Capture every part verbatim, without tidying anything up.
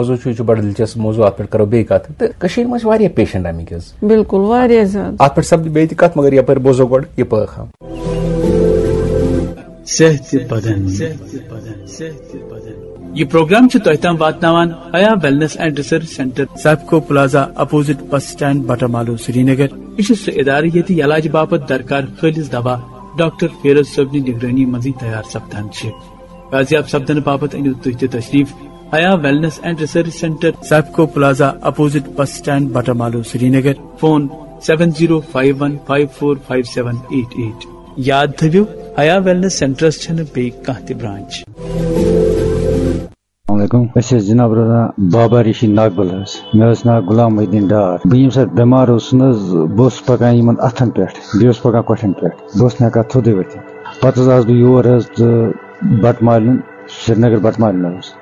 موضوع چھُ، یہِ چھُ بڑٕ دلچسپ موضوع، اتھ پٮ۪ٹھ کرو بیٚیہِ کتھ۔ تہٕ کٔشیٖرِ منٛز چھِ واریاہ پیشنٹ آمٕتۍ حظ۔ بِلکُل، واریاہ زیادٕ۔ اتھ پٮ۪ٹھ سپدِ بیٚیہِ تہِ کتھ، مگر یپٲرۍ بوزو گۄڈٕ یہِ پٲخام۔ صحت بدن۔ یہ پروگرام چھُ تۄہہِ تام واتناوان Haya wellness and research centre, Sipco plaza, opposite bus stand, Batamaloo, Srinagar. یہِ چھُ سُہ ادارٕ ییٚتہِ علاج باپتھ درکار خٲلص دوا ڈاکٹر فیروز صٲبنہِ نگرٲنی منٛزٕے تیار سپدان چھِ۔ بازیاب سپدنہٕ باپتھ أنِو تُہۍ تہِ تشریف Haya wellness and research centre, Sipco plaza, opposite bus stand, Batamaloo, Srinagar. Phone seven zero five one five four five seven eight eight. یاد تھٲوِو، حیا ویلنس سینٹرس چھنہٕ بیٚیہِ کانٛہہ تہِ برانچ۔ السلام علیکم۔ أسۍ ٲسۍ جناب روزان بابا ریشی ناگبل حظ۔ مےٚ اوس ناو غلام محی الدین ڈار۔ بہٕ ییٚمہِ ساتہٕ بٮ۪مار اوسُس نہٕ حظ، بہٕ اوسُس پکان یِمن اتھن پٮ۪ٹھ، بیٚیہِ اوسُس پکان کۄٹھٮ۪ن پٮ۪ٹھ، بہٕ اوسُس نہٕ ہٮ۪کان تھوٚدُے ؤتھِتھ۔ پتہٕ حظ آس بہٕ یور حظ تہٕ بٹہٕ مالنہِ، سرینگر بٹہٕ مالنہِ حظ،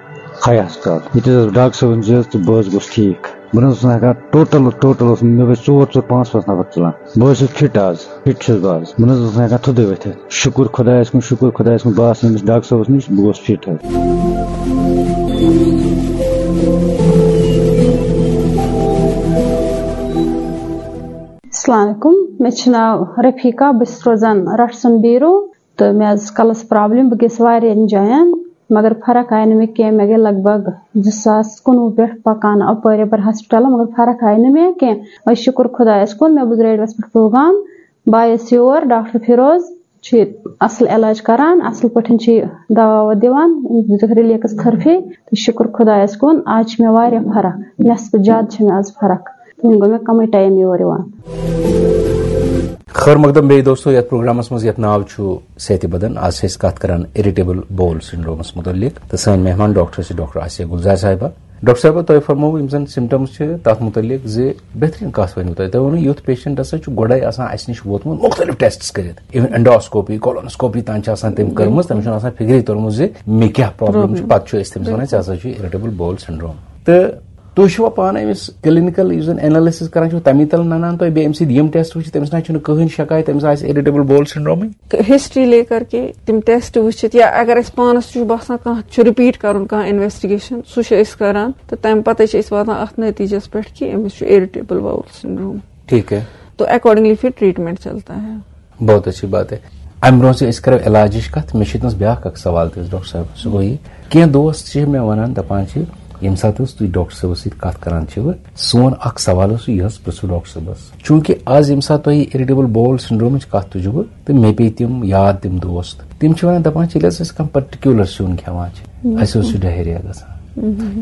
خیا ہسپتال۔ ییٚتہِ حظ ڈاکٹر صٲبن زِ حظ تہٕ بہٕ حظ گوٚوُس ٹھیٖک۔ بہٕ نہٕ حظ اوسُس نہٕ ہٮ۪کان ٹوٹل، ٹوٹل اوس مےٚ ٲسۍ ژور، ژور، پانٛژھ، پانٛژھ نفر ژلان۔ بہٕ حظ چھُس فِٹ آز، فِٹ چھُس بہٕ آز۔ بہٕ نہٕ حظ اوسُس نہٕ ہٮ۪کان تھوٚدُے ؤتھِتھ۔ شُکُر خۄدایَس کُن، شُکُر خۄدایَس کُن۔ بہٕ آس ییٚمِس ڈاکٹر صٲبَس نِش، بہٕ گوس فِٹ حظ۔ السلام علیکم، مےٚ چھُ ناو رفیقہ، بہٕ چھَس روزان رٹھ سُنٛد بیٖرو۔ تہٕ مےٚ حظ ٲس کَلَس پرابلم، بہٕ گٔیَس واریاہَن جایَن، مگر فرق آیہِ نہٕ مےٚ کینٛہہ۔ مےٚ گٔے لگ بگ زٕ ساس کُنوُہ پٮ۪ٹھ پَکان اَپٲرۍ یَپٲرۍ ہسپتالَن، مگر فرق آیہِ نہٕ مےٚ کینٛہہ۔ وۄنۍ شُکُر خۄدایَس کُن، مےٚ بوٗز ریڈیوَس پٮ۪ٹھ پروگرام، بہٕ آیَس یور، ڈاکٹر فیروز چھُ ییٚتہِ اَصٕل علاج کران، اَصٕل پٲٹھۍ چھِ یہِ دوا ووا دِوان، أمۍ دِتُکھ ریلیکس تھرپی، تہٕ شُکُر خۄدایَس کُن، آز چھِ مےٚ واریاہ فرق، نٮ۪صفہٕ زیادٕ چھِ مےٚ آز فرق۔ وۄنۍ گوٚو مےٚ کمٕے ٹایم یور یِوان۔ خٲر مقدم بیٚیہِ دوستو، یتھ پروگرامس منٛز یتھ ناو چھُ صحت بدن، آز چھِ أسۍ کتھ کران اریٹیبل بول سنڈرومس متعلق، تہٕ سٲنۍ مہمان ڈاکٹر چھِ ڈاکٹر آسیہ گلزار صاحبہ۔ ڈاکٹر صاحبہ، تۄہہِ فرمووُ یِم زن سمٹمز چھِ تتھ متعلق زِ بہترین کتھ ؤنِو تۄہہِ۔ تۄہہِ ووٚنوُ یُتھ پیشنٹ ہسا چھُ گۄڈے آسان اسہِ نِش ووتمُت مختلف ٹیسٹس کٔرِتھ، even endoscopy، colonoscopy تام چھِ آسان تٔمۍ کٔرمٕژ، تٔمِس چھُنہٕ آسان فکرے توٚرمُت زِ مےٚ کیٛاہ پرابلم چھِ۔ پتہٕ چھُ أسۍ تٔمِس ونان، ژےٚ ہسا چھُ اریٹیبل بول سنڈروم۔ تہٕ تُہۍ چھِوا پانہٕ أمِس کلینیکل یُس زن انالسس کران چھِو، تَمی تل ننان تۄہہِ بیٚیہِ أمۍ سٕنٛدۍ یِم ٹیسٹ وٕچھِتھ، تٔمِس نہ چھُنہٕ کٕہٕنۍ شکایت، أمِس آسہِ اریٹیبل بول سنڈرومٕے؟ ہسٹری لے کر کے تِم ٹیسٹ وٕچھِتھ، یا اگر اَسہِ پانَس چھُ باسان کانٛہہ چھُ رِپیٖٹ کَرُن کانٛہہ انویسٹِگیشن، سُہ چھِ أسۍ کَران، تہٕ تَمہِ پَتَے چھِ أسۍ واتان اَتھ نٔتیٖجَس پٮ۪ٹھ کہِ أمِس چھُ اریٹیبل باول سنڈروم۔ ٹھیٖک ہے۔ تو اکارڈنگلی پھر ٹریٹمنٹ چلتا ہے۔ بہت اچھی بات ہے۔ امہِ برونٛہہ زِ أسۍ کرو علاجٕچ کتھ، مےٚ چھِ ییٚتنس بیٛاکھ اکھ سوال تہِ حظ ڈاکٹر صٲب۔ سُہ گوٚو یہِ، کینٛہہ دوست چھِ مےٚ ونان، دپان چھِ، ییٚمہِ ساتہٕ حظ تُہۍ ڈاکٹر صٲبس سۭتۍ کتھ کران چھِو، سون اکھ سوال اوس یہِ حظ پرژھو ڈاکٹر صٲبس۔ چوٗنٛکہِ از ییٚمہِ ساتہٕ تۄہہِ اریٹیبل بول سنڈرومٕچ کتھ تُجہِ بہٕ، تہٕ مےٚ پیٚیہِ تِم یاد، تِم دوست، تِم چھِ ونان، دپان چھِ، ییٚلہِ حظ أسۍ کانٛہہ پٔرٹِکیوٗلر سیُن کھٮ۪وان چھِ، اَسہِ حظ چھُ ڈہیریا گژھان۔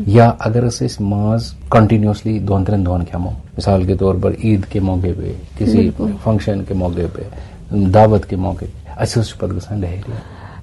یا اگر أسۍ أسۍ ماز کنٹینیوسلی دۄن ترٛٮ۪ن دۄہن کھٮ۪مو، مثال کے طور پر عید کے موقع پہ، کسی فنکشن کے موقع پہ، دعوت کے موقع پہ، اَسہِ حظ چھُ پتہٕ گژھان ڈہیریا۔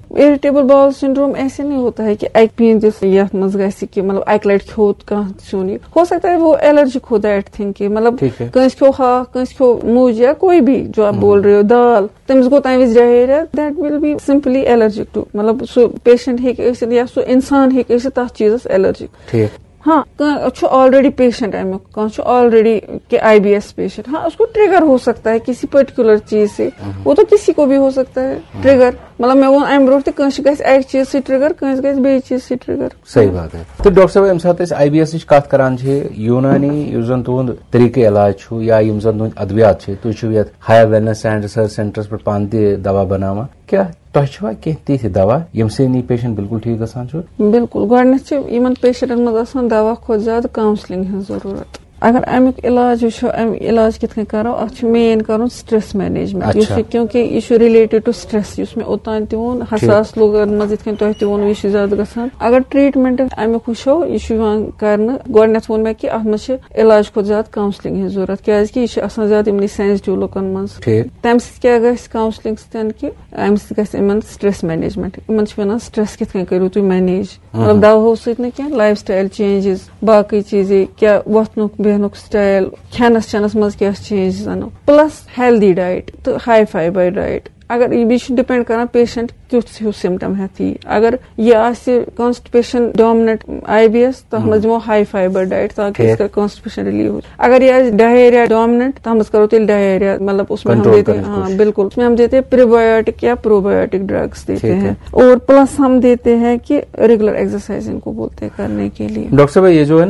اریٹیبل باول سنڈروم ایسے نہیں ہوتا ہے کہ اکہِ پیٖنتِس یتھ منٛز گژھِ کہِ مطلب اکہِ لٹہِ کھیوٚو کانٛہہ سیُن۔ یہ ہو سکتا ہے وہ الرجک ہوتا ہے ایٹ تھنگ کہ مطلب ٹھیک ہے۔ کٲنٛسہِ کھیوٚو ہاکھ، کٲنٛسہِ کھیوٚو مُج یا کوئی بھی جو آپ بول رہے ہو، دال، تٔمِس گوٚو تمہِ وِزِ diarrhoea, that will be simply allergic to، مطلب سُہ پیشنٹ ہیٚکہِ ٲسِتھ یا سُہ انسان ہیٚکہِ ٲسِتھ تتھ چیٖزس الرجک۔ ٹھیک۔ ہاں، کانٛہہ چھُ آلریڈی پیشنٹ امیُک، کانٛہہ چھُ آلریڈی کہ آئی بی ایس پیشنٹ۔ ہاں، اس کو ٹریگر ہو سکتا ہے کسی پرٹیکولر چیز سے، وہ تو کسی کو بھی ہو سکتا ہے ٹریگر۔ مطلب مےٚ ووٚن امہِ برونٛہہ تہِ، کٲنٛسہِ گژھِ اکہِ چیٖز سۭتۍ ٹریگر، کٲنٛسہِ گژھِ بیٚیہِ چیٖز سۭتۍ ٹریگر۔ صحیح بات ہے۔ تہٕ ڈاکٹر صٲب، ییٚمہِ ساتہٕ أسۍ آئی بی ایسٕچ کتھ کران چھِ، یوٗنانی یُس زن تُہُنٛد طریٖقہٕ علاج چھُ یا یِم زن تُہٕنٛدۍ ادویات چھِ، تُہۍ چھِو یتھ حیا ویلنس اینڈ ریسرچ سینٹرس پٮ۪ٹھ پانہٕ تہِ دوا بناوان، کیٛاہ تۄہہِ چھِوا کینٛہہ تِتھۍ دوا ییٚمہِ سۭتۍ یہِ پیشنٹ بالکل ٹھیٖک گژھان چھُ؟ بِلکُل، گۄڈٕنٮ۪تھ چھِ یِمن پیشنٹن منٛز آسان دوا کھۄتہٕ زیادٕ کاونسلنگ ہٕنٛز ضروٗرت۔ اگر امیُک علاج وٕچھو، امہِ علاج کِتھ کٔنۍ کرو، اتھ چھُ مین کرُن سٹریس مینیجمنٹ، یُس اچھا۔ یہِ، کیونکہ یہِ چھُ ریلیٹڈ ٹو سٹریس، یُس مےٚ اوٚتام تہِ ووٚن، حساس لوٗکن منٛز یِتھ کٔنۍ تۄہہِ تہِ ووٚنوُ، یہِ چھُ زیادٕ گژھان۔ اگر ٹریٹمنٹ امیُک وٕچھو، یہِ چھُ یِوان کرنہٕ، گۄڈٕنٮ۪تھ ووٚن مےٚ کہِ اتھ منٛز چھِ علاج کھۄتہٕ زیادٕ کاونسلنگ ہٕنٛز ضروٗرت، کیازِ کہِ یہِ چھُ آسان زیادٕ یِمنٕے سینسٹیو لوٗکن منٛز۔ ٹھیک۔ تمہِ سۭتۍ کیٛاہ گژھِ کاونسلنگ سۭتۍ کہِ امہِ سۭتۍ گژھِ یِمن سٹریس مینیجمنٹ، یِمن چھِ ونان سٹریس کِتھ کٔنۍ کٔرِو تُہۍ مینیج، مطلب دواہو سۭتۍ نہٕ کینٛہہ، لایف سٹایل چینجز، باقٕے چیٖزے، کیٛاہ وۄتھنُک بیٚہنُک سٹایل، کھٮ۪نس چٮ۪نس منٛز کیٛاہ چینجز انو، پلس ہیلدی ڈایٹ تہٕ ہاے فایبر ڈایٹ۔ اگر یہِ چھُ ڈِپینڈ کران پیشنٹ کیُتھ ہیوٗ سِمٹم ہٮ۪تھ یی۔ اگر یہِ آسہِ کانسٹِپیشن ڈومننٹ آئی بی ایس، تَتھ منٛز دِمو ہائی فائبر ڈائٹ، تاکہ اس کا کانسٹِپیشن ریلیو ہو۔ اگر یہ آسہِ ڈائریا ڈومننٹ، تَتھ منٛز کرو تیٚلہِ ڈائریا، مطلب اس میں ہم دیتے ہیں، ہاں بالکل، اس میں ہم دیتے ہیں پریبیوٹک یا پروبیوٹک ڈرگس دیتے ہیں، اور پلس ہم دیتے ہیں کہ ریگولر ایکسرسائز ان کو بولتے ہیں کرنے کے لیے۔ ڈاکٹر صاحب، یہ جو ہے